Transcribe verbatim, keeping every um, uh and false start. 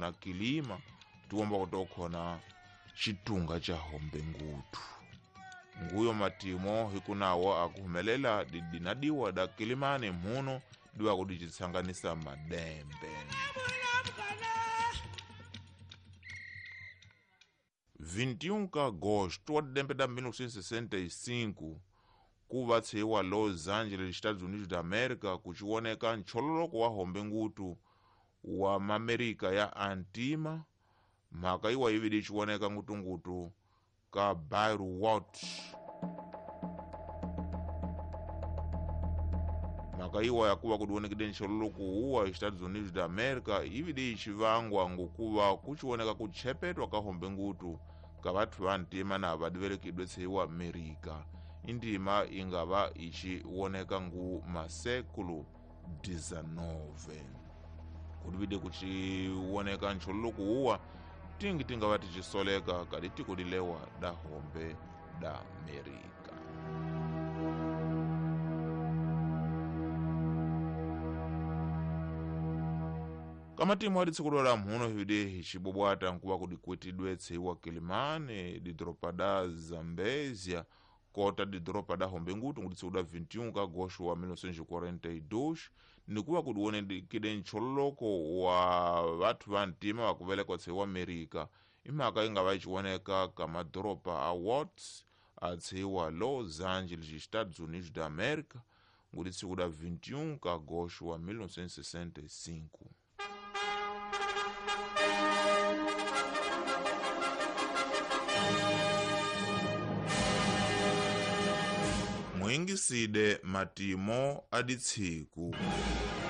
kutokhona kilima tiwomba kutokhona xitunga xa hombe ngutu nguyo matimo hikunawo akuhumelela didinadiwa da kilimani mhuno diwa kudicitsanganisa madembe. vinte e um de agosto wa dembe da mil novecentos e sessenta e cinco kuva tshiwa Los Angeles, Estados Unidos da América, kuchiwoneka nchololoko wa hombe ngutu wa Mamerika ya antima mhaka iwa ividi ichiwoneka ngutungutu ka Bairro Watts. Mhaka iwa yakuva kudiwonekide nchololoko uwa Estados Unidos da América ividi ichivangwa ngokuva kuchiwoneka kutshepetwa ka hombe ngutu ka vathu va ntima na vadivelekidwe tshiwa Amerika. Indima ingava ichiwoneka ngu masekulu dezenove. Kudivide kuchiwoneka nchololoko uwa tingi tingava tichisoleka kadi tiko dilewa da hombe da Amerika. Kamatimo adi tsiku la mhuno hivide hicibobwata nkuva kudikwetidwe tseiwa Kilimani didropa da Zambezia kota didropa da hombe ngutu ngudi tsiku da vinte e um de agosto wa mil novecentos e quarenta e dois nikuva kudiwonekide nchololoko wa vathu va ntima vakuvelekwa tseiwa Amerika imhaka ingava ichiwoneka ka madoropa a Watts a tseiwa Los Angeles, Estados Unidos da América ngudi tsiku da vinte e um de agosto wa mil novecentos e sessenta e cinco. Mwingiside matimo aditsiku.